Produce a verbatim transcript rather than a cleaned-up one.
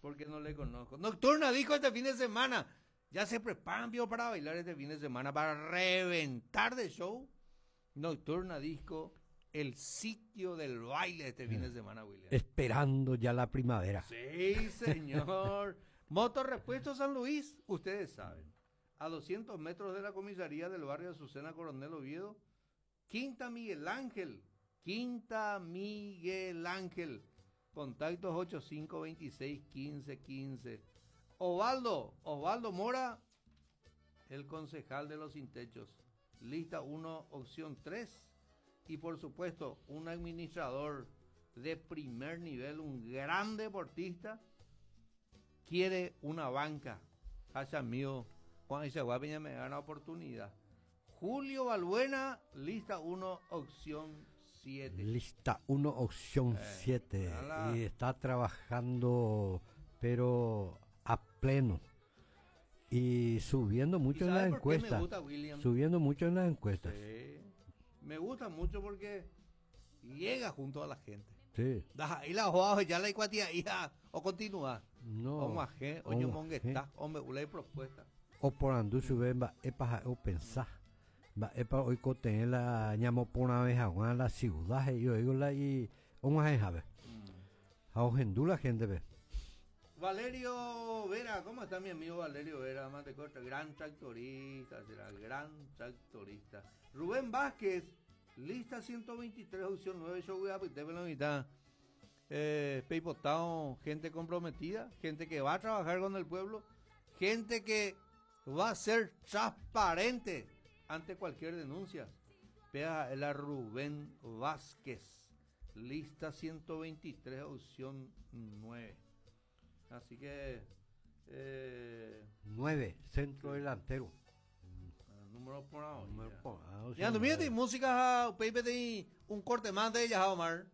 Porque no le conozco. Nocturna dijo este fin de semana. Ya se preparan, vio, para bailar este fin de semana, para reventar de show. Nocturna Disco, el sitio del baile este fin de semana, William. Esperando ya la primavera. Sí, señor. Motorrepuesto San Luis, ustedes saben. A doscientos metros de la comisaría del barrio Azucena Coronel Oviedo. Quinta Miguel Ángel. Quinta Miguel Ángel. Contactos ochenta y cinco veintiséis quince quince. Osvaldo, Osvaldo Mora, el concejal de los sin techos. Lista uno, opción tres. Y por supuesto, un administrador de primer nivel, un gran deportista, quiere una banca. Hacha mío, Juan Peña me da una oportunidad. Julio Balbuena, lista uno, opción siete. Lista uno, opción siete. Eh, y está trabajando, pero a pleno. Y subiendo mucho en las encuestas. Subiendo mucho en las encuestas. Sí. Me gusta mucho porque llega junto a la gente. Sí. Y la ya la hija o continúa. No. O maje, o yo está, o me una propuesta. Oporandu chupe mba'épa o pensá. Mba'épa oikotevẽ la ñamoporãve hag̃ua la ciudad he'i oígola y og̃uahẽhápe. Ha ohendu la gente-pe. Valerio Vera, ¿cómo está mi amigo Valerio Vera? Mantecorta, gran tractorista, será gran tractorista. Rubén Vázquez, lista ciento veintitrés, opción nueve, yo voy a la mitad. Eh, Peipotao, gente comprometida, gente que va a trabajar con el pueblo, gente que va a ser transparente ante cualquier denuncia. Vea la Rubén Vázquez, lista ciento veintitrés, opción nueve. Así que. Eh, nueve, centro delantero. Número por ahora. Ya, música, un corte más de ella, Omar.